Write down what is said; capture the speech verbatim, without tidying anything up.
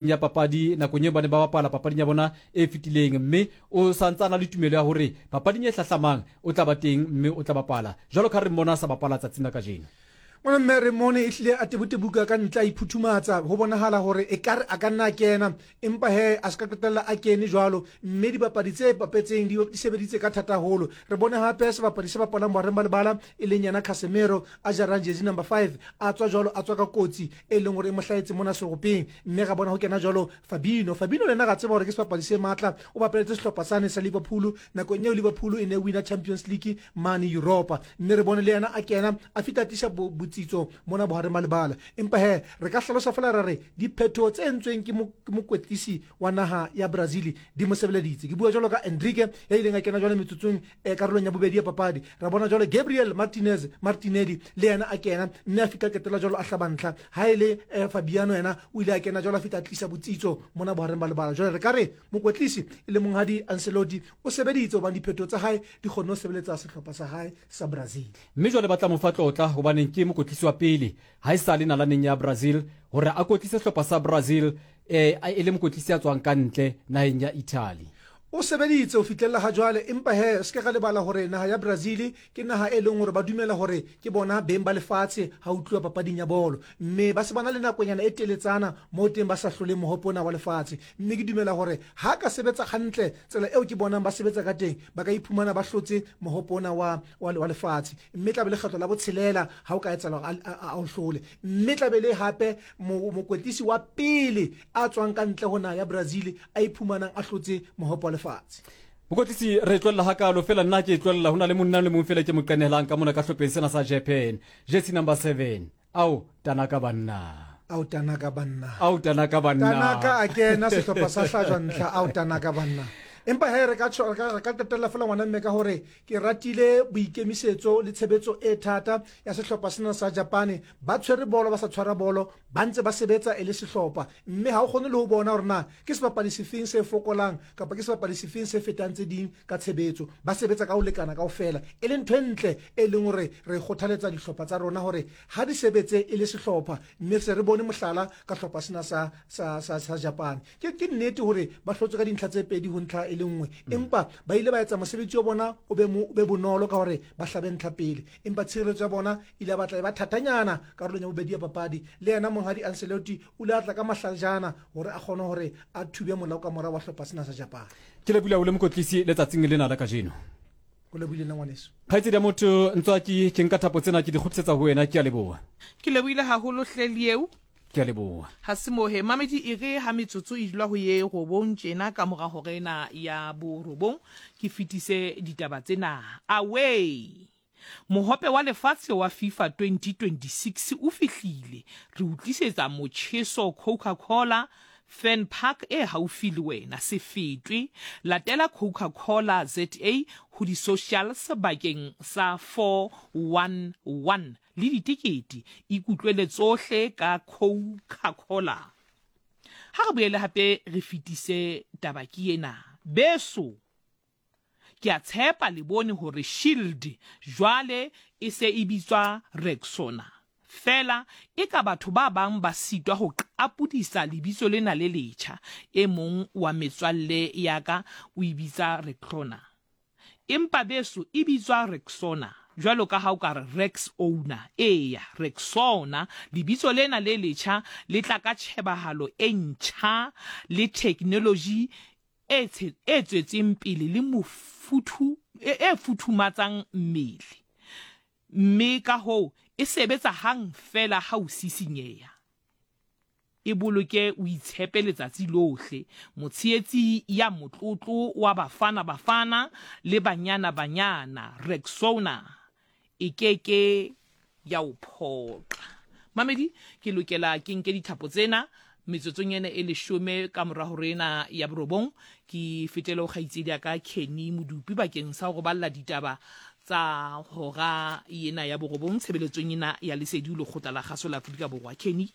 Ya papadi nakong eo ba ne ba bapala papading ya bona e fetileng, mme o sa ntse a na le tumelo ya hore papading e hlahlamang o tla ba teng mme o tla bapala jwalo ka re mmona a sa bapala tsatsing la kajeno. Ngwana mme re mmone ehlile a tebutebuka ka ntle a iphuthumatsa, ho bonahala hore ekare a ka nna a kena, empa he a se ka qetella a kene jwalo, mme dibapadi tse bapetseng di di sebeditse ka thata haholo. Re bone hape sebapadi se bapalang bohareng ba lebala e leng yena Casemiro a jarang jersey number five a tswa jwalo, a tswa ka kotsi e leng hore e mo hlahetse mona seropeng, mme ra bona ho kena jwalo Fabinho. Fabinho le yena ra tseba hore ke sebapadi se matla, o bapaletse sehlopha sane sa Liverpool nakong eo Liverpool e ne e wina Champions League mane Europa, mme re bone le yena a kena a fihla a tlisa botsitso mona bohareng ba lebala. Empa he re ka hlalosa fela ra re diphetoho tse entsweng ke mokwetlisi wa naha ya Brazil di mo sebeleditse. Ke bua jwalo ka Endrick ya ileng a kena jwale metsotsong e karolong ya bobedi ya papadi. Ra bona jwale Gabriel Martinez Martinelli le yena a kena mme a fihla qetella jwalo a hlaba ntlha. Ha e le eh, Fabiano yena o ile a kena jwalo a fihla a tlisa botsitso mona bohareng ba lebala. Jwale re ka re mokwetlisi e le monghadi Ancelotti o sebeditse hobane diphetoho tsa hae di kgonne ho sebeletsa sehlopha sa hae sa Brazil. Mme jwale ba tla mo fa tlotla hobaneng ke mokwetlisi wa pele ha e sa le nalaneng ya Brazil hore a kwetlise sehlopha sa Brazil eh, e le mokwetlisi ya tswang ka ntle naheng ya Italy. O sebeditse ho fihlella ha jwale, empa he se ke ra lebala hore naha ya Brazil ke naha e leng hore ba dumela hore ke bona beng ba lefatshe ha ho tluwa papading ya bolo, mme ba se ba na le nakonyana e teletsana moo teng ba sa hloleng mohope ona wa lefatshe. Mme ke dumela hore ha ka sebetsa hantle tsela eo ke bonang ba sebetsa ka teng, ba ka iphumana ba hlotse mohope ona wa, wa, wa lefatshe, mme tla be lekgetlo la botshelela ha o ka etsahala hore a, a, a o hlole. Mme tla be le hape mo, mokoetlisi wa pele a tswang ka ntle ho naha ya Brazil a iphumanang a hlotse mohope wa lefatshe. Mokwetlisi, re tlohella hakalo fela, nna ke e tlohella ho na le monna le mong fela ke mo qenehelang ka mona ka hlopheng sena sa Japan, jersey number seven, ao Tanaka banna. Ao Tanaka banna. Ao Tanaka banna. Tanaka a kena, sehlopha sa hlajwa ntlha. Ao Tanaka banna. Empa he re ka tjho- re ka re ka qetella fela, ngwana mme, ka hore ke ratile boikemisetso le tshebetso e thata ya sehlopha sena sa Japane. Ba tshwere bolo, ba sa tshwara bolo, ba ntse ba sebetsa e le sehlopha, mme ha o kgone le ho bona hore na ke sebapadi sefeng se fokolang kapa ke sebapadi sefeng se fetang tse ding ka tshebetso. Ba sebetsa ka ho lekana kaofela, e leng ntho e ntle e leng hore re kgothaletsa dihlopha tsa rona hore ha di sebetse e le sehlopha, mme se re bone mohlala ka hlopha sena sa, sa, sa, sa Japan. ke, ke nnete hore ba hlotswe ka dintlha tse pedi ho ntlha e le nngwe, empa ba ile ba etsa mosebetsi wa bona o be, mo, o be bonolo ka hore ba hlabe ntlha pele, empa tshireletso ya bona ile ya batla e ba thatanyana karolong ya bobedi ya papadi. Le yena monghadi Ancelotti o ile a tla ka mahlajana hore a kgone hore a thube molao ka mora wa hlopha sena sa Japan. Ke lebohile haholo, mokwetlisi, letsatsing lena la kajeno. Go lebohile nna, ngwaneso. Kgaitsedi ya motho Ntswaki, ke nka thapo tsena ke di kgutlisetsa ho wena. Ke a leboha. Ke lebohile haholo hle Lieu. Ke a leboha. Ha se mohe mamedi, e re ha metsotso e dula ho ye robong tjena ka mora hora ena ya borobong ke fetise ditaba tsena. Away! Mohope wa lefatshe wa FIFA twenty twenty-six o fihlile. Re o tlisetsa motjheso Coca-Cola Fan Park e haufi le wena. Se fetwe. Latela Coca-Cola Z A ho di-socials bakeng sa four one one le ditekete. Ikutlwele tsohle ka Coca-Cola. Ha re boele hape re fetise taba ke ena. Beso, ke a tshepa le bone hore Shield jwale e se e bitswa Rexona. Fela e ka batho ba bang ba sitwa ho qapodisa lebitso lena le letjha. E mong wa metswalle ya ka o e bitsa Rexona. Empa beso, e bitswa Rexona, jwalo ka ha o ka re Rex owner. Eya, Rexona. Lebitso lena le letjha le tla ka tjhebahalo e ntjha le technology e e tswetseng pele le mofuthu e, e futhumatsang mmele, mme ka hoo e sebetsa hang fela ha o sisinyeha. E boloke o itshepe letsatsi lohle. Motshehetsi ya motlotlo wa Bafana Bafana le Banyana Banyana, Rexona e ke ke ya o phoqa. Mamedi, ke lokela ke nke dithapo tsena metsotsong ena e leshome ka mora hore ena ya borobong ke fetele ho kgaitsedi ya ka Kenny Modupi bakeng sa ho balla ditaba tsa hora ena ya borobong tshebeletsong ena ya Lesedi, lekgotla la kgaso la Afrika Borwa. Kenny.